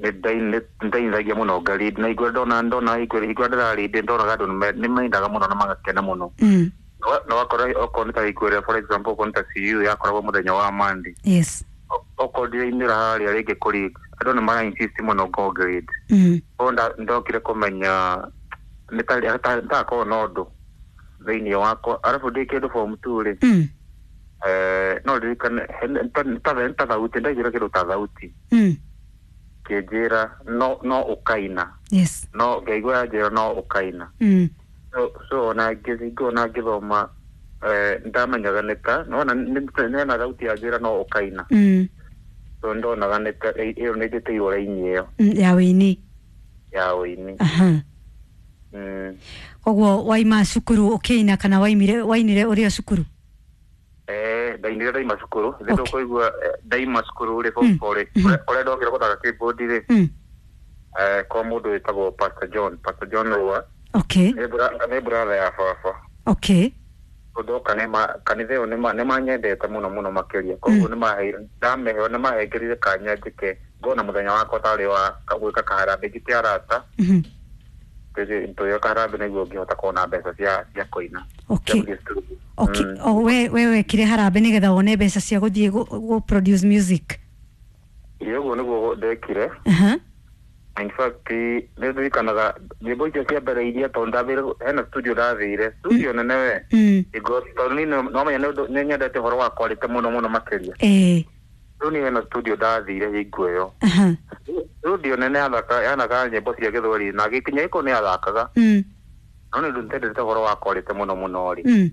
Nĩ ndeithagia mũno ngalead na igua ndona igua ndĩralead, ndonaga andũ nĩ mendaga mũno na magakena mũno. Na wakora okorwo nĩ ta ikuĩra, for example, okorwo nĩ ta CU yakoragwo mũthenya wa Monday, okorwo ndirainĩra harĩa rĩngĩ kũlead, andũ nĩ mara insist mũno ngo grade. Koguo ndokire kũmenya nĩ ta ndakorwo na ũndũ thĩinĩ wakwa. Arabu ndĩ kĩndũ form 2 rĩ, no ndirikane ta thauti, ndaiguire kĩndũ ta thauti kĩnjĩra no ũkaina. No ngaigua yanjĩra no ũkaina. So ona ngĩthiĩ ona ngĩthoma, ndamenyaga nĩ ta nona nĩona thauti yanjĩra no ũkaina. So ndonaga nĩ ta ĩyo nĩ njĩtĩirwo raini ĩyo Ya wĩini. Ya wĩini. Koguo waima cukuru ũkĩina kana waimire wainire ũrĩ o cukuru? Ndainire ndaima cukuru thĩ. Tũkũigua ndaima cukuru rĩ, form four rĩ, ũrĩa ndokire gũthaka keyboard rĩ, kwa mũndũ wĩtagwo Pastor John, Pastor John Rua. Nĩ brother ya baba. Ndoka nĩ kanitha ĩyo nĩ manyendete mũno mũno makĩria, koguo nĩ maheire ndameheo nĩ mahengerire kanya njĩke ngona mũthenya wakwa tarĩ wa gwĩka kaharambĩ, njĩte arata tũgĩka kaharambĩ nĩguo ngĩhota kuona mbeca cia kũina, cia gũthiĩ studio. O we wekire harambĩ nĩgetha wone mbeca cia gũthiĩ gũ produce music? Ĩĩ, ũguo nĩguo ndekire. In fact, nĩ ndirikanaga nyĩmbo icio cia mbere iria, tondũ ndathire hena studio, ndathire studio nene we. Ingo tondũ niĩ no menya nĩ ũndũ nĩ nyendete ũhoro wa quality mũno mũno makĩria. Rĩu niĩ hena studio ndathire hingo ĩyo, studio nene yathaka yathakaga nyĩmbo cia gĩthweri na gĩkinya gĩko nĩ yathakaga, no nĩ ũndũ nĩtendete ũhoro wa quality mũno mũno rĩ,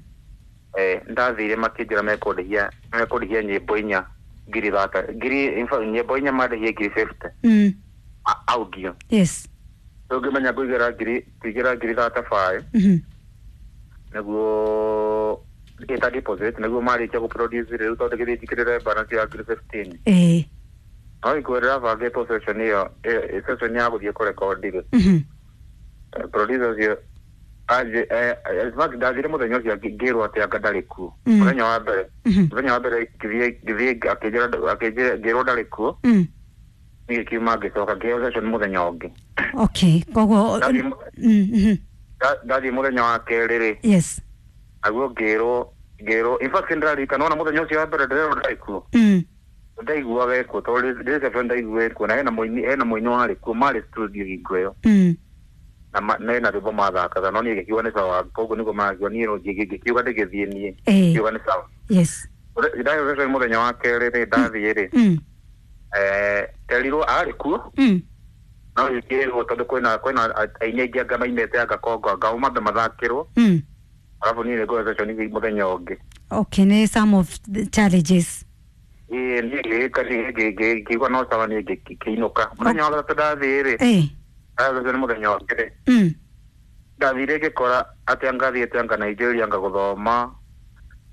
ndathire makĩnjĩra mekũndĩhia nyĩmbo inya ngiri thata ngiri, in fact, nyĩmbo inya mandĩhie ngiri 50 audio. Rĩu ngĩmenya ngũigĩra ngiri ngũigĩra ngiri 35 nĩguo ĩta deposit, nĩguo marĩkia gũproduce rĩu, tondũ gĩthiĩ njikĩrĩre balance ya ngiri 15. No ikuo rĩrabangĩtwo session ĩyo, session ya gũthiĩ kũrekondi rĩ, producer ũcio anjĩ in fact, ndathire mũthenya ũcio ngĩrwo atĩ anga ndarĩ kuo. Mũthenya wa mbere, mũthenya wa mbere ngĩthiĩ akĩnjĩra ngĩrwo ndarĩ kuo. Niĩ kiuma ngĩcoka ngĩheo session mũthenya ũngĩ. Okay, koguo Ndathiĩ mũthenya wa kerĩ rĩ, naguo ngĩrwo, in fact, ndĩraririkana ona mũthenya ũcio wa mbere ndĩrerwo ndarĩ kuo. Ndaiguaga ekuo tondũ ndĩ ndaigua ekuo na hena mũini warĩ kuo, marĩ studio hingo ĩyo, na na hena rwĩmbo mathakaga, no niĩ ngĩkiuga nĩ sawa. Koguo nĩguo marakiuga niĩ ngĩkiuga ndĩgĩthiĩ niĩ ngiuga nĩ sawa. Ndaheo session mũthenya wa kerĩ rĩ, ndathiĩ rĩ, terirwo arĩ kuo, no ngĩrwo tondũ kwĩna aini aingĩ anga mainĩte anga kongo anga o mambe mathakĩrwo, arabu niĩ nĩngũhe session mũthenya ũngĩ. Okay, nĩ some of the challenges. Ĩĩ, niĩ ngĩgĩka ngĩigua no sawa, niĩ ngĩinũka. Mũthenya wa gatatũ ndathiĩ rĩ, ndaheo session mũthenya ũngĩ rĩ, ndathire ngĩkora atĩ anga thiĩte anga Nigeria anga gũthoma,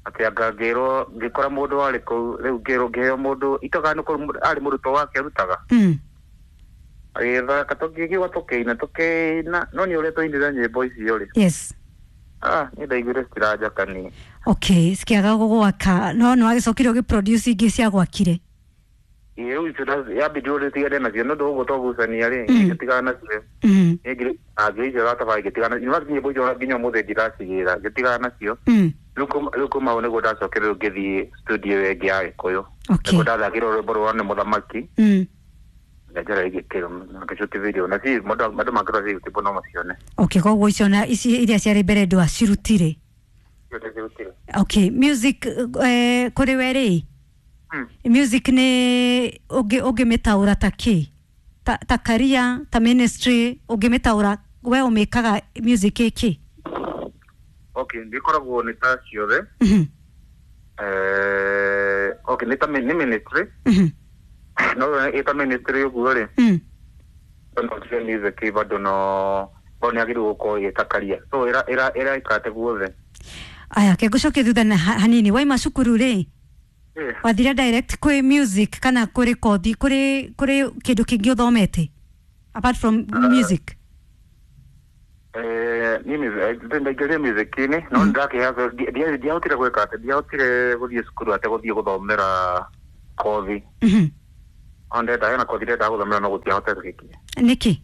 atĩ anga ngĩrwo ngĩkora mũndũ warĩ kũu. Rĩu ngĩrwo ngĩheo mũndũ itoga nĩ kũu arĩ mũrutwo wake arutaga, agĩthaka, tũkĩigua tũkĩina tũkĩina, no nĩ ũrĩa twainire nyĩmbo icio rĩ, ah, niĩ ndaiguire citiranjaka niĩ. Okay, cikiaga gũgwaka, no nĩ wagĩcokire ũgĩproduce ingĩ cia gwakire? Ĩĩ, rĩu icio yambindi ũrĩa nacio nĩ ũndũ ũguo twagucania rĩ, ngĩtigana nacio. Niĩ ngiri ngiri icio gatabarĩ ngĩtigana. In fact, nyĩmbo icio nginya ũmũthĩ ndiracigĩra, ngĩtigana nacio. Rĩu kuma hau nĩguo ndacokire rĩu ngĩthiĩ studio ĩyo ĩngĩ ya Gĩkũyũ, nĩguo ndathakire rwĩmbo rwa nĩ mũthamaki, nganjara igĩkĩrwo ngĩcuti video na ci andũ mangĩrora ci YouTube no macione. Okay, koguo icio na ici iria ciarĩ mbere ndwacirutire? Icio ndĩcirutire. Okay, music kũrĩ we rĩ, music nĩ ũngĩmĩtaũra ta kĩ, ta career, ta ministry, ũngĩmĩtaũra we ũmĩkaga music ĩkĩ? Okay, ndĩkoragwo nĩ ta ciothe. Okay, nĩ ta nĩ ministry. No ĩta ministry ũguo rĩ, no tige music bado no nĩ agĩrĩirwo gũkorwo ĩta career, so ĩra ĩra ĩraikate guothe. Aya, ke ngũcokie thutha na hanini. Waima cukuru rĩ, wathire direct kwĩ music kana kũrĩ kothi, kũrĩ kĩndũ kĩngĩ ũthomete apart from music? Niĩ ndaingĩrire music-inĩ, no ndakĩheo ndiahotire gwĩka atĩ ndiahotire gũthiĩ cukuru atĩ gũthiĩ gũthomera kothi. Ndenda hena kothi ndenda gũthomera no gũtiahotekekire. Nĩkĩ?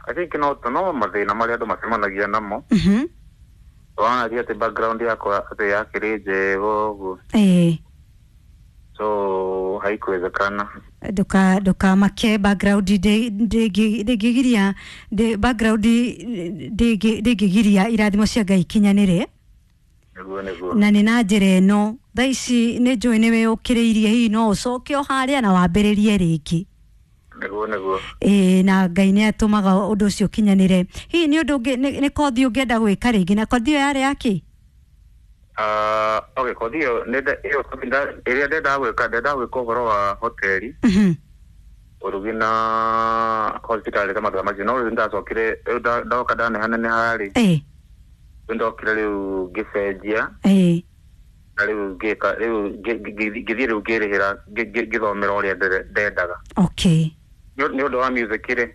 I think no mathĩna marĩa andũ macemanagia namo. Wona ti atĩ background yakwa atĩ yakĩrĩ njega ũguo. So haikuwezekana. Ndukamake background ndĩngĩgiria background ndĩngĩgiria irathimo cia Ngai ikinyanĩre. Nĩguo. Na nĩ na njĩra ĩno thaa ici nĩ njũĩ nĩ wĩyũkĩrĩirie, hihi no ũcoke o harĩa na wambĩrĩrie rĩngĩ. Nĩguo. Ĩĩ, na Ngai nĩ atũmaga ũndũ ũcio ũkinyanĩre. Hihi nĩ ũndũ ũngĩ nĩ kothi ũngĩenda gwĩka rĩngĩ, na kothi ĩyo yarĩ yakĩ? Okay, kothi ĩyo ĩrĩa ndendaga gwĩka, ndendaga gwĩka ũhoro wa hoteli, ũrugi na hospitality maũndũ macio. No rĩu ndacokire, rĩu ndoka ndanehaneneha rĩ, rĩu ndokire rĩu ngĩcenjia, na rĩu ngĩka, rĩu ngĩthiĩ rĩu ngĩrĩhĩra, ngĩthomera ũrĩa ndendaga. Okay. Nĩ ũndũ wa music rĩ,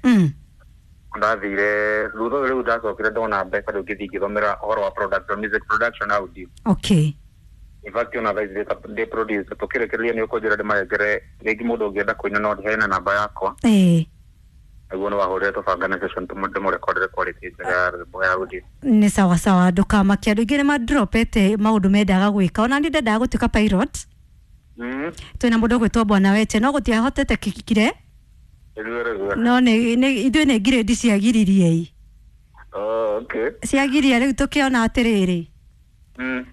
ndathire thutha ũyũ rĩu ndacokire ndona mbeca rĩu ngĩthiĩ ngĩthomera ũhoro wa production, music production audio. Okay. In fact ona thaa ici ndĩ producer, tũkĩrĩkĩrĩria nĩ ũkũnjĩra ndĩmanengere rĩngĩ mũndũ ũngĩenda kũina no heane namba yakwa. Nĩguo no wahũrĩre tũbangane session ndĩmũrekondere quality njega ya rwĩmbo ya audio. Nĩ sawa sawa, ndũkamake. Andũ aingĩ nĩ madropete maũndũ mendaga gwĩka. Ona niĩ ndendaga gũtuĩka pilot. Twĩna mũndũ ũgwĩtwo Bwana Weche, no gũtiahotete kire. No nĩ ithuĩ nĩ grade ciagiririe. Oh, okay. Ciagiria rĩu tũkĩona atĩrĩrĩ.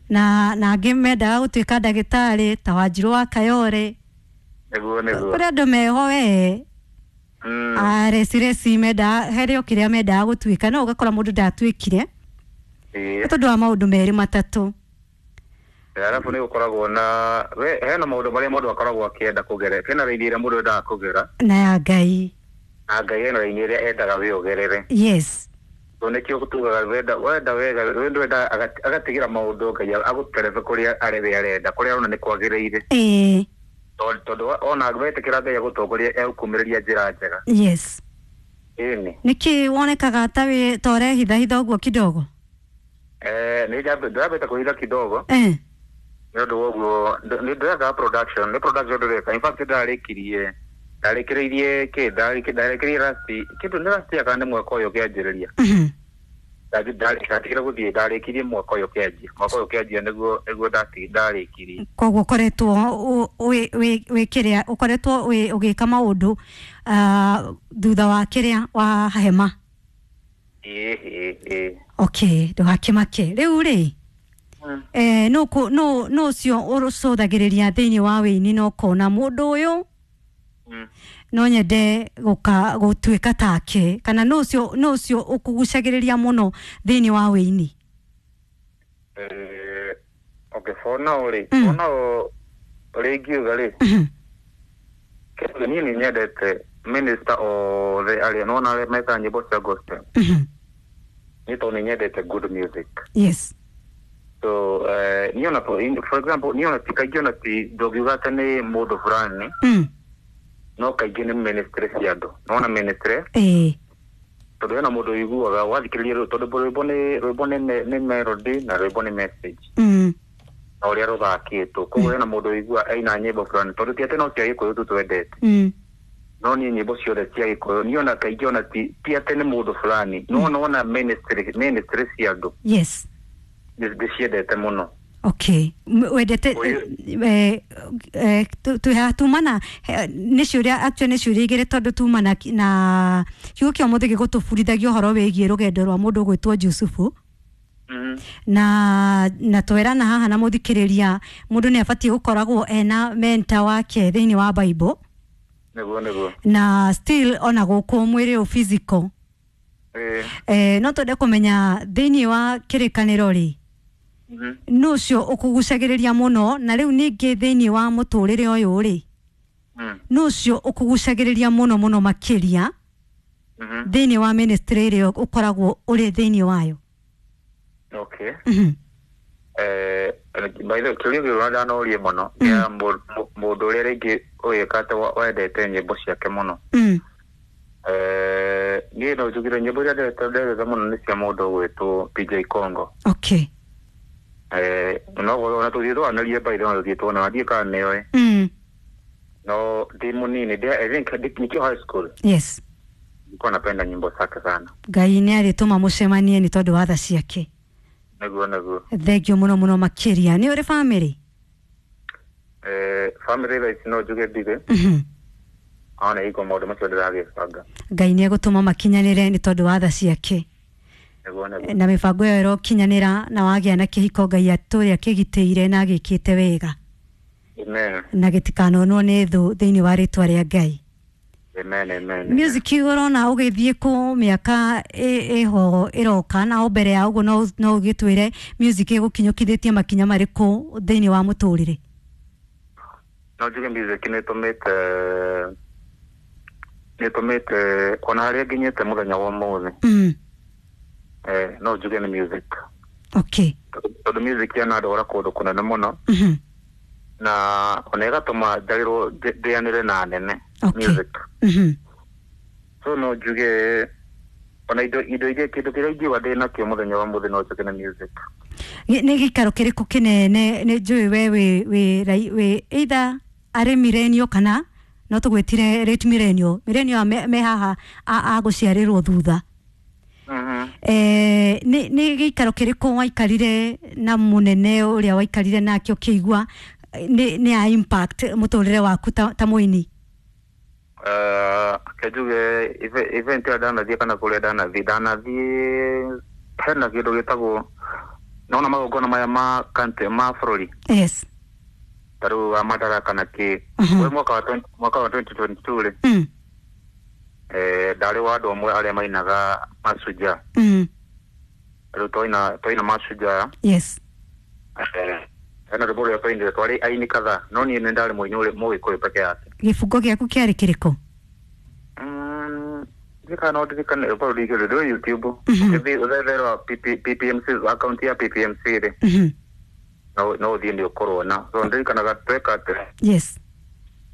Na angĩ mendaga gũtuĩka ndagĩtarĩ ta Wanjirũ wa Kayore. Nĩguo. Kũrĩ andũ meho we. Reci mendaga harĩ o kĩrĩa mendaga gũtuĩka, no ũgakora mũndũ ndatuĩkire. Nĩ tondũ wa maũndũ merĩ matatũ. Arabu nĩ gũkoragwo na hena maũndũ marĩa mũndũ akoragwo akĩenda kũgera, hena raini ĩrĩa mũndũ endaga kũgera. Na ya Ngai. Na Ngai hena raini ĩrĩa endaga we ũgerere. Yes. So nĩkĩo tugaga wenda wega, wenda wenda agatigĩra maũndũ Ngai agũterebe kũrĩa arĩ we arenda, kũrĩa arona nĩ kwagĩrĩire. Tondũ ona wetĩkĩra Ngai agũtongoria egũkumĩrĩria njĩra njega. Yes. Ĩni. Nĩkĩ wonekaga ta wĩ ta ũrehithahitha ũguo kidogo? Nĩ ndambĩte kũhitha kidogo. Nĩ ũndũ wa ũguo nĩ ndĩreka production, nĩ production ndĩreka. In fact ndarĩkirie kĩ, ndarĩkĩrie last, kĩndũ nĩ last year kana nĩ mwaka ũyũ ũkĩanjĩrĩria. Ndatigire gũthiĩ, ndarĩkirie mwaka ũyũ ũkĩanjia. Mwaka ũyũ ũkĩanjia nĩguo ndarĩkirie. Koguo ũkoretwo wĩ kĩrĩa, ũkoretwo ũgĩka maũndũ thutha wa kĩrĩa wa hema. Ĩĩ. Okay, ndũgakĩmake. Rĩu rĩ, no ũcio ũcũthagĩrĩria thĩinĩ wa wĩini na ũkona mũndũ ũyũ no nyende gũtuĩka take, kana no ũcio ũkũgucagĩrĩria mũno thĩinĩ wa wĩini? Okay, for now rĩ, for now rĩngiuga rĩ, kĩndũ niĩ nĩ nyendete minister othe arĩa nona arĩa mekaga nyĩmbo cia gospel. Nĩ tondũ nĩ nyendete good music. Yes. So niĩ ona for example niĩ ona kaingĩ ona ti ndũngiuga atĩ nĩ mũndũ fulani, no kaingĩ nĩ ministry cia andũ. Nona ministry? Tondũ hena mũndũ ũiguaga wathikĩrĩria tondũ rwĩmbo nĩ melody na rwĩmbo nĩ message. Na ũrĩa rũthakĩtwo. Koguo hena mũndũ ũiguaga aina nyĩmbo fulani, tondũ ti atĩ no cia Gĩkũyũ tu twendete. No niĩ nyĩmbo ciothe cia Gĩkũyũ, niĩ ona kaingĩ ona ti atĩ nĩ mũndũ fulani, no nona ministry cia andũ. Yes. Ndĩciendete mũno. Okay. Wendete tumana nĩ ciũria, actually nĩ ciũria igĩrĩ tondũ tumana na kiugo kĩa ũmũthĩ gĩgũtũbundithagia ũhoro wĩgiĩ rũgendo rwa mũndũ ũgwĩtwo Jusufu. Na twerana haha na mũthikĩrĩria mũndũ nĩ abatiĩ gũkoragwo ena mentor wake thĩinĩ wa Bible. Nĩguo. Na still ona gũkũ mwĩrĩ ũ physical. No twende kũmenya thĩinĩ wa kĩrĩkanĩro rĩ, nũ ũcio ũkũgucagĩrĩria mũno, na rĩu ningĩ thĩinĩ wa mũtũrĩre ũyũ rĩ, nũ ũcio ũkũgucagĩrĩria mũno mũno makĩria thĩinĩ wa ministry ĩrĩa ũkoragwo ũrĩ thĩinĩ wayo? Okay. By the way, kĩũria gĩkĩ ndanorie mũno nĩ mũndũ ũrĩa rĩngĩ ũgĩka atĩ wendete nyĩmbo ciake mũno. Niĩ no njugire nyĩmbo iria ndendete mũno nĩ cia mũndũ ũgwĩtwo PJ Congo. Okay. No ona tũthiĩ twanĩrie by the way, tũthiĩ tuona ndiĩ kana nĩoĩ. No ndi munini I think nikiwa high school. Yes. Nilikuwa napenda nyimbo zake sana. Ngai nĩ arĩtũma mũcemanie nĩ tondũ wa tha ciake. Nĩguo nĩguo. Thank you mũno mũno makĩria. Nĩ ũrĩ family? Family thaa ici no njuge ndirĩ. Ona iko maũndũ macio ndĩragĩbanga. Ngai nĩ egũtũma makinyanĩre nĩ tondũ wa tha ciake. Nĩguo nĩguo. Na mĩbango ĩyo ĩrokinyanĩra na wagĩa na kĩhiko Ngai atũre akĩgitĩire na agĩkĩte wega. Amen. Na gĩtikanonwo nĩ thũ thĩinĩ wa rĩtwa rĩa Ngai. Amen, amen. Music ũrona ũgĩthiĩ kũ mĩaka ĩho ĩroka na o mbere ya ũguo no ũgĩtwĩre music ĩgũkinyũkithĩtie makinya marĩkũ thĩinĩ wa mũtũrĩre? No njuge music nĩ ĩtũmĩte ona harĩa nginyĩte mũthenya wa ũmũthĩ. No njuge nĩ music. Okay. Tondũ music yanandwara kũndũ kũnene mũno. Na ona ĩgatũma njarĩrwo ndĩanĩre na nene. Okay. Music. So no njuge ona indo iria kĩndũ kĩrĩa ingiuga ndĩ nakĩo mũthenya wa ũmũthĩ no njuge nĩ music. Nĩ gĩikaro kĩrĩkũ kĩnene nĩ njũĩ we wĩ either arĩ millennial kana no tũgwĩtire late millennial. Millennial me haha a gũciarĩrwo thutha. Nĩ gĩikaro kĩrĩkũ waikarire na mũnene ũrĩa waikarire nake ũkĩigua nĩ a impact mũtũrĩre waku ta mũini? Kenjuge event ĩrĩa ndanathiĩ kana kũrĩa ndanathiĩ hena kĩndũ gĩtagwo nona magongona maya ma country ma bũrũri. Yes. Ta rĩu wa Madaraka na kĩ. We mwaka wa 2022 rĩ. Ndarĩ wa andũ amwe arĩa mainaga Mashujaa. Rĩu twaina Mashujaa. Yes. Hena rwĩmbo rũrĩa twainire twarĩ aini kadhaa no niĩ nĩ ndarĩ mũini ũrĩa Mũgĩkũyũ peke yake. Gĩbungo gĩaku kĩarĩ kĩrĩkũ? Ndirikana no ndirikane rwĩmbo rũu rwĩ YouTube. Ũgĩthiĩ ũthetherwa PPMC account ya PPMC rĩ. No ũthiĩ nĩ ũkũrwona. So ndirikanaga tweka atĩ. Yes.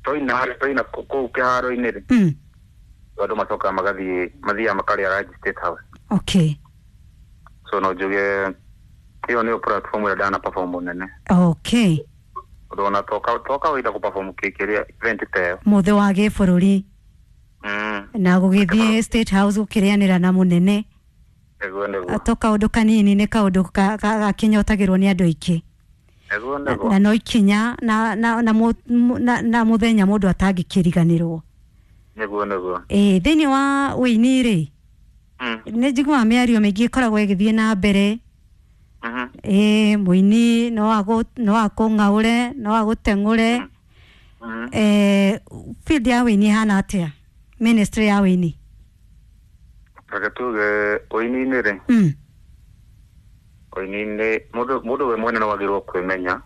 Twaina kũu kĩharo-inĩ rĩ. Andũ macokaga magathiĩ mathiaga makarĩa lunch State House. Okay. So no njuge ĩyo nĩyo platform ĩrĩa ndana perform nene. Okay. Ũndũ ona to kawaida kũ perform kĩrĩa event ta ĩyo. Mũthĩ wa gĩbũrũri. Na gũgĩthiĩ State House gũkĩrĩanĩra na mũnene. Nĩguo nĩguo. To kaũndũ kanini nĩ kaũndũ gakĩnyotagĩrwo nĩ andũ aingĩ. Nĩguo nĩguo. Na no ikinya na mũthenya mũndũ atangĩkĩriganĩrwo. Nĩguo nĩguo. Thĩinĩ wa ũini rĩ. Nĩ njiguaga mĩario mĩingĩ ĩkoragwo ĩgĩthiĩ na mbere. Mũini no akũng'aũre, no agũteng'ũre. Field ya ũini ĩhana atĩa? Ministry ya ũini. Reke tuge ũini-inĩ rĩ. Ũini-inĩ mũndũ we mwene no wagĩrĩirwo kwĩmenya.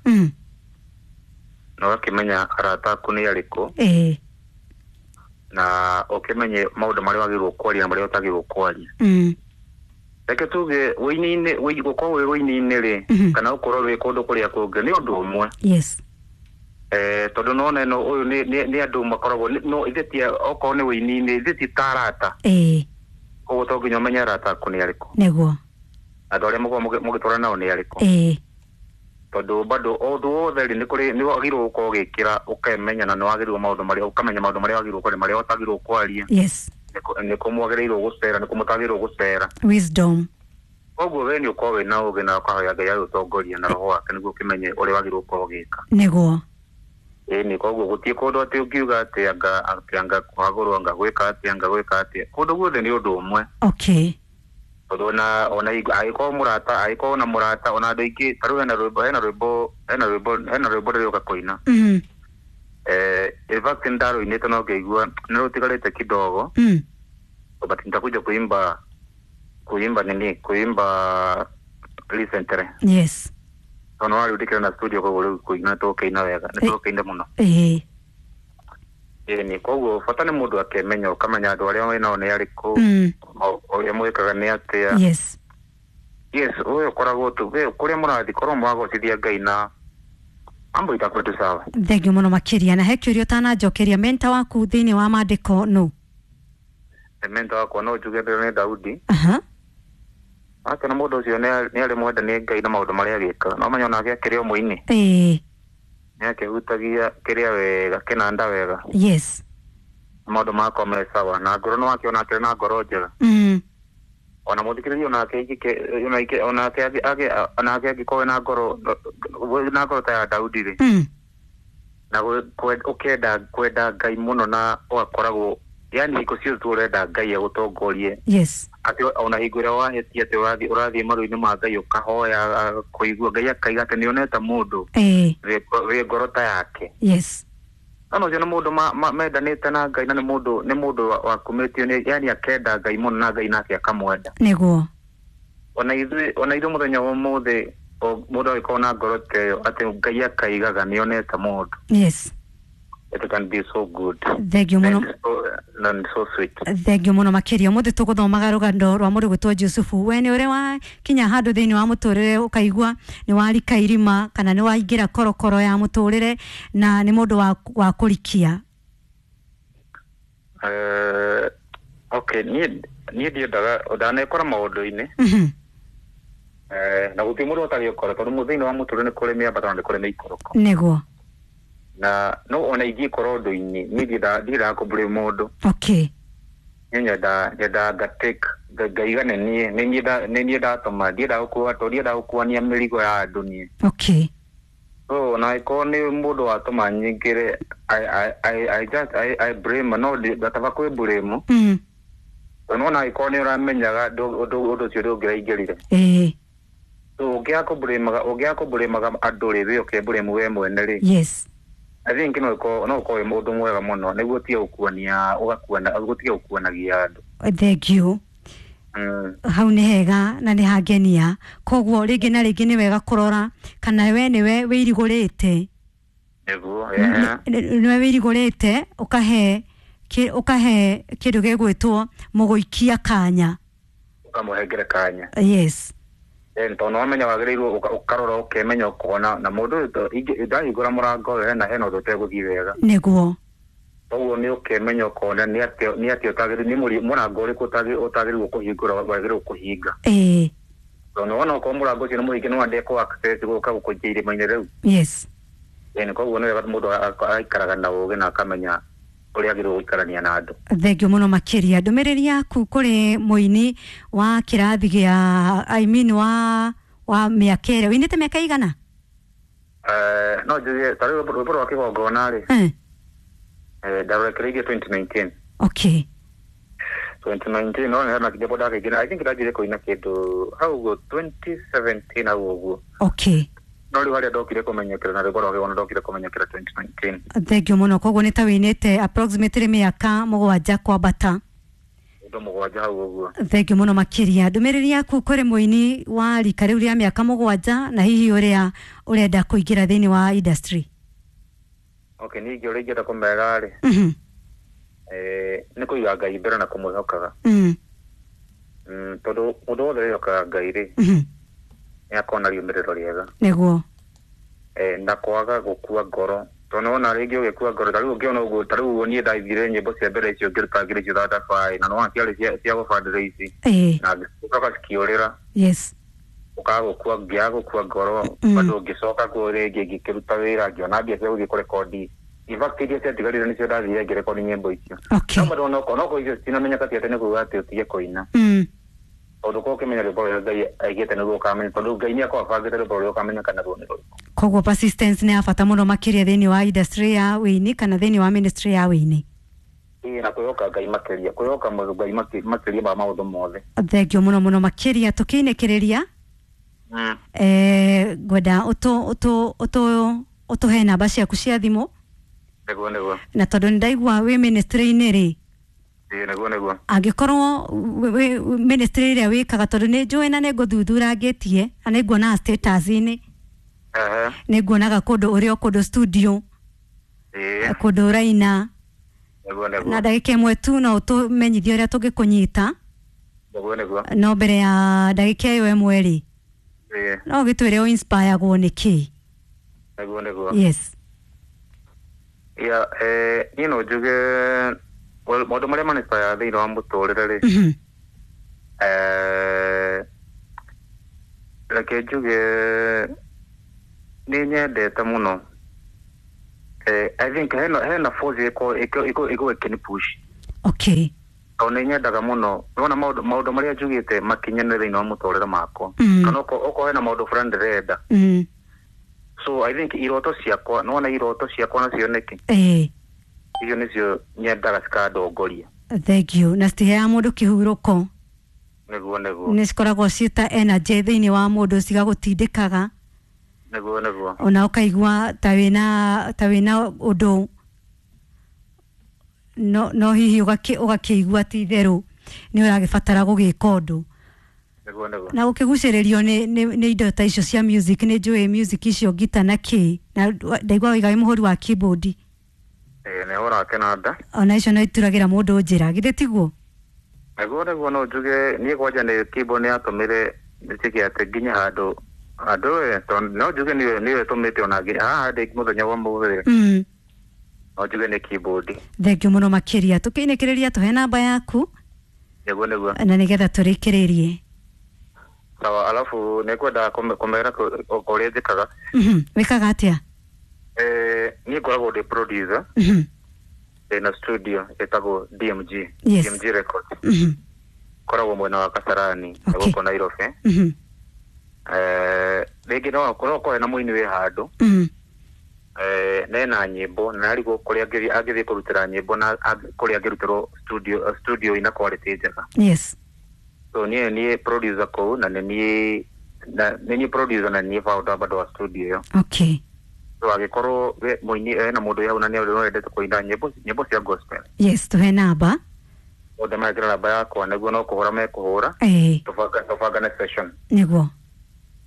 Na ũgakĩmenya arata aku nĩ arĩkũ. Na ũkĩmenye maũndũ marĩa wagĩrĩirwo kwaria na marĩa ũtagĩrĩirwo kwaria. Reke tuge ũini-inĩ gũkorwo wĩ ũini-inĩ rĩ kana ũkorwo wĩ kũndũ kũrĩa kũngĩ nĩ ũndũ ũmwe. Yes. Tondũ nona ĩno ũyũ nĩ andũ makoragwo no ithuĩ ti okorwo nĩ ũini-inĩ ithuĩ ti ta arata. Koguo to nginya ũmenye arata aku nĩ arĩkũ. Nĩguo. Andũ arĩa mũkoragwo mũgĩtwarana nao nĩ arĩkũ. Tondũ bado ũndũ wothe rĩ nĩ kũrĩ nĩ wagĩrĩirwo gũkorwo ũgĩkĩra ũkemenya na nĩ wagĩrĩirwo maũndũ marĩa ũkamenya maũndũ marĩa wagĩrĩirwo kwaria marĩa ũtagĩrĩirwo kwaria. Yes. Nĩ kũ mwagĩrĩirwo gũcera nĩ kũ mũtagĩrĩirwo gũcera. Wisdom. Koguo we nĩ ũkorwo wĩna ũũgĩ na ũkahoya Ngai agũtongorie na roho wake nĩguo ũkĩmenye ũrĩa wagĩrĩirwo gũkorwo ũgĩka. Nĩguo. Ĩni koguo gũtirĩ kũndũ atĩ ũngiuga atĩ anga kũhagũrwo anga gwĩka atĩa anga gwĩka atĩa. Kũndũ guothe nĩ ũndũ ũmwe. Okay. Tondũ ona angĩkorwo mũrata angĩkorwo na mũrata ona andũ aingĩ ta rĩu hena rwĩmbo ndĩroka kũina. In fact ndarũinĩte no ngĩigua nĩ rũtigarĩte kidogo. But nitakuja kuimba nini kuimba recently. Yes. Tondũ warĩ ndikĩra na studio koguo rĩu kũina tũkĩina wega nĩ tũkĩina mũno. Ĩni koguo bata nĩ mũndũ akemenya ũkamenya andũ arĩa wĩnao nĩ arĩkũ ũrĩa mwĩkaga nĩ atĩa. Yes. Yes, ũyũ ũkoragwo tu kũrĩa mũrathiĩ korwo mwagocithia Ngai na mambo itakuwa tu sawa. Thank you mũno makĩria. Na he kĩũria ũtananjokeria mentor waku thĩinĩ wa maandĩko nũ? Mentor wakwa no njuge nĩ Daudi. Ake na mũndũ ũcio nĩ arĩ mwende nĩ Ngai na maũndũ marĩa agĩkaga. No menya onake akĩrĩ o mũini. Nĩ akĩhutagia kĩrĩa wega kĩnanda wega. Yes. Maũndũ makwa me sawa na ngoro nĩ wakĩona akĩrĩ na ngoro njega. Ona mũthikĩrĩria onake onake angĩkorwo na ngoro ta ya Daudi rĩ, na ũkenda kwenda Ngai mũno na ũgakoragwo yani hingo ciothe tu ũrenda Ngai agũtongorie. Yes. Atĩ ona hingo ĩrĩa wahĩtia atĩ ũrathiĩ maru-inĩ ma Ngai ũkahoya kũigua Ngai akaiga atĩ nĩonete mũndũ wĩ ngoro ta yake. Yes. No ũcio nĩ mũndũ mendanĩte na Ngai na nĩ mũndũ wakumĩtio nĩ yani akenda Ngai mũno na Ngai nake akamwenda. Nĩguo. Ona ithuĩ mũthenya wa ũmũthĩ mũndũ agĩkorwo na ngoro ta ĩyo atĩ Ngai akaigaga nĩonete mũndũ. Yes. It can be so good. Thank you muno. And so sweet. Thank you muno makiria. Umuthi tuguthomaga rugano rwa mũndũ gwĩtwo Jusufu. We nĩ ũrĩ wa kinya handũ thĩinĩ wa mũtũrĩre ũkaigua nĩ warika irima kana nĩ waingĩra korokoro ya mũtũrĩre na nĩ mũndũ wa kũrikia. Okay, niĩ ndiendaga ndanekora maũndũ-inĩ. Na gũtirĩ mũndũ ũtagĩũkora tondũ thĩinĩ wa mũtũrĩre nĩ kũrĩ mĩambato na nĩ kũrĩ mĩikũrũko. Nĩguo. Na no ona ingĩkorwo ũndũ-inĩ niĩ ndiendaga kũblame mũndũ. Okay. Niĩ nyenda ngatake ngaigane niĩ nĩ niĩ ndatũma ndiendaga gũkua tondũ ndiendaga gũkuania mĩrigo ya andũ niĩ. Okay. So ona ĩkorwo nĩ mũndũ watũma nyingĩre I blame no ngataba kwĩ blame. Tondũ ona ĩkorwo nĩ ũramenyaga ũndũ ũcio ndũngĩraingĩrire. So ũngĩaga kũblame andũ rĩ wĩ ũkĩblame we mwene rĩ. Yes. I think no ũkorwo wĩ mũndũ mwega mũno nĩguo ũtige gũkuania ũgakuana gũtige gũkuanagia andũ. Thank you. Hau nĩ hega na nĩ hangenia. Koguo rĩngĩ na rĩngĩ nĩ wega kũrora kana we nĩwe wĩirigũrĩte. Nĩguo. Nĩwe wĩirigũrĩte ũkahe kĩndũ gĩgwĩtwo mũgũikia kanya. Ũkamũhengere kanya. Yes. Tondũ wamenya wagĩrĩirwo ũkarora ũkemenya ũkona na mũndũ ũyũ ndahingũra mũrango ũyũ hena ũndũ ũtegũthiĩ wega. Nĩguo. Koguo nĩ ũkemenya ũkona nĩ atĩa ũtagĩrĩirwo nĩ mũrango ũrĩkũ ũtagĩrĩirwo kũhingũra wagĩrĩirwo kũhinga. Tondũ wona okorwo mũrango ũcio nĩ mũhinge no wande kũ access gũka gũkũikia irima-inĩ rĩu. Yes. Koguo nĩ wega mũndũ aikaraga na ũũgĩ na akamenya ũrĩa agĩrĩirwo gũikarania na andũ. Thank you mũno makĩria. Ndũmĩrĩri yaku kũrĩ mũini wa kĩrathi gĩa I mean wa mĩaka ĩrĩa ũinĩte mĩaka igana? No njuge ta rĩu rwĩmbo rwa kĩgongona rĩ ndarũrekereirie 2019. Okay. 2019 no hena kĩndũ ndakĩingĩra I think ndanjire kũina kĩndũ hau ũguo 2017 hau ũguo. Okay. No rĩu harĩa ndokire kũmenyekera na rwĩmbo rwa kĩgongona ndokire kũmenyekera 2019. Thank you mũno. Koguo nĩ ta wĩinĩte approximately mĩaka 7 kwambata. Ũndũ 7 hau ũguo. Thank you mũno makĩria. Ndũmĩrĩri yaku kũrĩ mũini wa rika rĩu rĩa mĩaka 7 na hihi ũrĩa ũrenda kũingĩra thĩinĩ wa industry. Okay, niĩ ũrĩa ingĩenda kũmera rĩ nĩ kũiga Ngai mbere na kũmwĩhokaga. Tondũ mũndũ wothe wĩhokaga Ngai rĩ nĩ akona riumĩrĩro rĩega. Nĩguo. Na kwaga gũkua ngoro tondũ wona rĩngĩ ũgĩkua ngoro ta rĩu ũngĩona ũguo ta rĩu ũguo niĩ ndathire nyĩmbo cia mbere icio ngĩruta ngiri icio thatabaĩ na nĩwona ciarĩ cia gũfundraise na ngĩcoka cikĩũrĩra. Yes. Ũkaga gũkua ngĩaga gũkua ngoro bado ngĩcoka kuo rĩngĩ ngĩkĩruta wĩra ngĩona mbia cia gũthiĩ kũrekondi. In fact iria ciatigarire nĩcio ndathire ngĩrekondi nyĩmbo icio. Okay. No bado no icio citinamenyeka ti atĩ nĩ kuuga atĩ ũtige kũina. Tondũ korwo ũkĩmenya rwĩmbo rũrĩa Ngai aigĩte nĩguo ũkamenya tondũ Ngai nĩ akoragwo abangĩte rwĩmbo rũrĩa ũkamenya kana ruo nĩ rũrĩkũ. Koguo persistence nĩ ya bata mũno makĩria thĩinĩ wa industry ya wĩini kana thĩinĩ wa ministry ya wĩini. Ĩĩ na kwĩhoka Ngai makĩria kwĩhoka Ngai makĩria ma maũndũ mothe. Thank you mũno mũno makĩria. Tũkĩinĩkĩrĩria ngwenda ũtũhe namba ciaku cia thimũ. Nĩguo nĩguo. Na tondũ nĩ ndaigua wĩ ministry-inĩ rĩ. Nĩguo nĩguo. Angĩkorwo ministry ĩrĩa wĩkaga tondũ nĩ njũĩ na nĩ ngũthuthurangĩtie na nĩ nguonaga status-inĩ. Nĩ nguonaga kũndũ ũrĩ o kũndũ studio. Kũndũ ũraina. Nĩguo nĩguo. Na ndagĩka ĩmwe tu no ũtũmenyithie ũrĩa tũngĩkũnyita. Nĩguo nĩguo. No mbere ya ndagĩka ĩyo ĩmwe rĩ no ũgĩtwĩre ũ inspire-agwo nĩ kĩ? Nĩguo nĩguo. Yes. Yeah, niĩ no njuge maũndũ marĩa maninspire thĩinĩ wa mũtũrĩre rĩ reke njuge nĩ nyendete mũno I think hena force iko iko iko iko ĩkĩni push. Tondũ nĩ nyendaga mũno nĩwona maũndũ marĩa njugĩte makinyanĩre thĩinĩ wa mũtũrĩre makwa. Kana okorwo hena maũndũ fulani ndĩrenda. So I think iroto ciakwa, nĩwona iroto ciakwa nacio nĩkĩ? Icio nĩcio nyendaga cikandongoria. Thank you. Na citiheaga mũndũ kĩhurũko. Nĩguo nĩguo. Nĩ cikoragwo ciĩta energy thĩinĩ wa mũndũ, cigagũtindĩkaga. Nĩguo nĩguo. Ona ũkaigua ta wĩna ũndũ no hihi ũgakĩigua ti itherũ nĩ ũragĩbatara gũgĩka ũndũ. Nĩguo nĩguo. Na ũkĩgucĩrĩrio nĩ indo ta icio cia music, nĩ njũĩ music icio ngita na kĩ, na ndaigua waiga wĩ mũhũri wa keyboard. Nĩ hũraga kĩnanda. Ona icio no ituragĩra mũndũ njĩra, githĩ tiguo? Nĩguo nĩguo, no njuge niĩ kwanja nĩ keyboard nĩ yatũmire njĩke atĩ nginye handũ tondũ no njuge nĩyo ĩtũmĩte ona nginya haha ndĩ mũthenya wa ũmũthĩ. No njuge nĩ keyboard. Thank you mũno makĩria. Tũkĩinĩkĩrĩria tũhe namba yaku. Nĩguo nĩguo. Na nĩgetha tũrĩkĩrĩrie. Sawa, alafu nĩngwenda kũmera ũrĩa njĩkaga. Wĩkaga atĩa? Niĩ ngoragwo ndĩ producer. Ndĩna studio ĩtagwo DMG. Yes. DMG Records. Koragwo mwena wa Kasarani, gũkũ Nairobi. Rĩngĩ no okorwo hena mũini wĩ handũ. Nena nyĩmbo na arigwo kũrĩa angĩthiĩ kũrutĩra nyĩmbo na kũrĩa angĩrutĩrwo studio ina quality njega. Yes. So niĩ producer kũu na nĩ niĩ producer na niĩ founder bado wa studio ĩyo. So angĩkorwo mũini hena mũndũ hau na nĩ wendete kũina nyĩmbo cia gospel. Yes, tũhe namba. Othe mekĩra namba yakwa nĩguo no kũhũra mekũhũra. Tũbangane session. Nĩguo.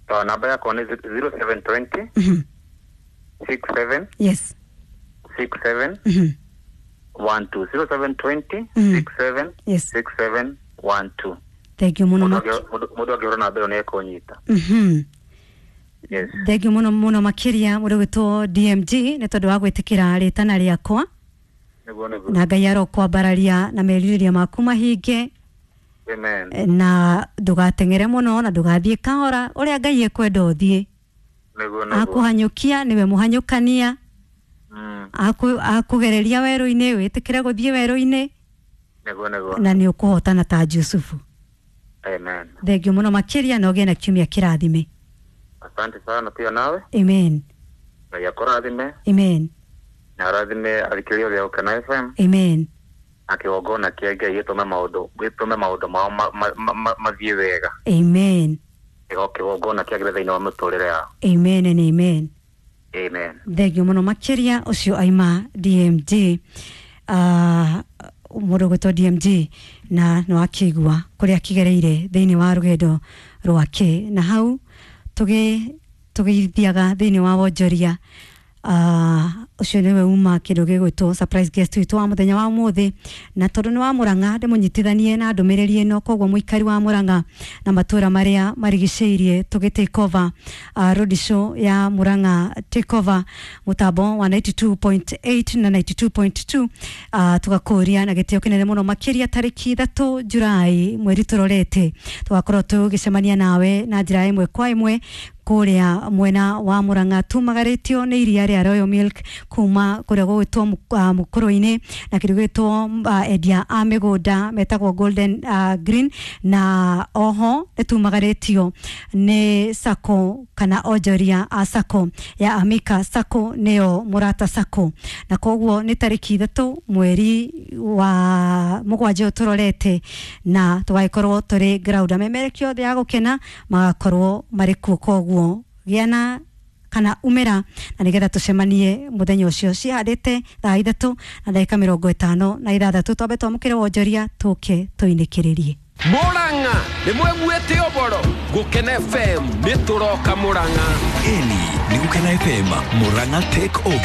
So namba yakwa nĩ 0720 67 Yes. 67 12 0720 67 Yes. 67 12. Thank you mũno. Mũndũ angĩhũra namba ĩyo nĩ ekũnyita. Yes. Thank you mũno mũno makĩria mũndũ gwĩtwo DMG nĩ tondũ wa gwĩtĩkĩra rĩtana rĩakwa. Nĩguo nĩguo. Na Ngai arokwambararia na merirĩria maku mahinge. Amen. Na ndũgateng'ere mũno na ndũgathiĩ kahora, ũrĩa Ngai ekwenda ũthiĩ. Nĩguo nĩguo. Akũhanyũkia nĩwe mũhanyũkania. Akũgereria werũ-inĩ wĩtĩkĩre gũthiĩ werũ-inĩ. Nĩguo nĩguo. Na nĩ ũkũhotana ta Jusufu. Amen. Thank you mũno makĩria na ũgĩe na kiumia kĩrathime. Asante sana pia nawe. Amen. Ngai akũrathime. Amen. Na arathime athikĩrĩria othe a Gũkena FM. Amen. Na kĩgongona kĩa Ngai gĩtũme maũndũ mao mathiĩ wega. Amen. Kĩgongona kĩagĩre thĩinĩ wa mĩtũrĩre yao. Amen and amen. Amen. Thank you mũno makĩria ũcio aima DMG. Mũndũ gwĩtwo DMG na nĩ wakĩigua kũrĩa akĩgereire thĩinĩ wa rũgendo rwake, na hau tũgĩthiaga thĩinĩ wa wonjoria. Ũcio nĩwe uma kĩndũ gĩgwĩtwo surprise guest witũ wa mũthenya wa ũmũthĩ, na tondũ nĩ wa Mũrang'a ndĩmũnyitithanie na ndũmĩrĩri ĩno, koguo mũikari wa Mũrang'a na matũra marĩa marigicĩirie tũgĩ take over road show ya Mũrang'a take over mũtambo wa 92.8 na 92.2. Tũgakũria na gĩtĩo kĩnene mũno makĩria tarĩki 3 Julai mweri tũrorete tũgakorwo tũgĩcemania nawe na njĩra ĩmwe kwa ĩmwe kũrĩa mwena wa Mũrang'a tumagarĩtio nĩ iria rĩa Royal Milk kuma kũrĩa gũgwĩtwo mũkũrũ-inĩ na kĩndũ gĩgwĩtwo endia a mĩgũnda metagwo Golden Green, na oho nĩ tumagarĩtio nĩ sacco kana onjoria a sacco ya Amika Sacco nĩyo Mũrata Sacco, na koguo nĩ tarĩki 3 mweri wa 7 tũrorete na tũgagĩkorwo tũrĩ ground amemerekio othe ya gũkena magakorwo marĩ kuo, koguo gĩana kana umĩra na nĩgetha tũcemanie mũthenya ũcio cihandĩte thaa 3 na ndagĩka 56 twambe twamũkĩre wonjoria tũke tũinĩkĩrĩrie. Mũrang'a nĩ mweguĩte ũboro Gũkena FM nĩ tũroka Mũrang'a. Ĩni nĩ Gũkena FM Mũrang'a take over.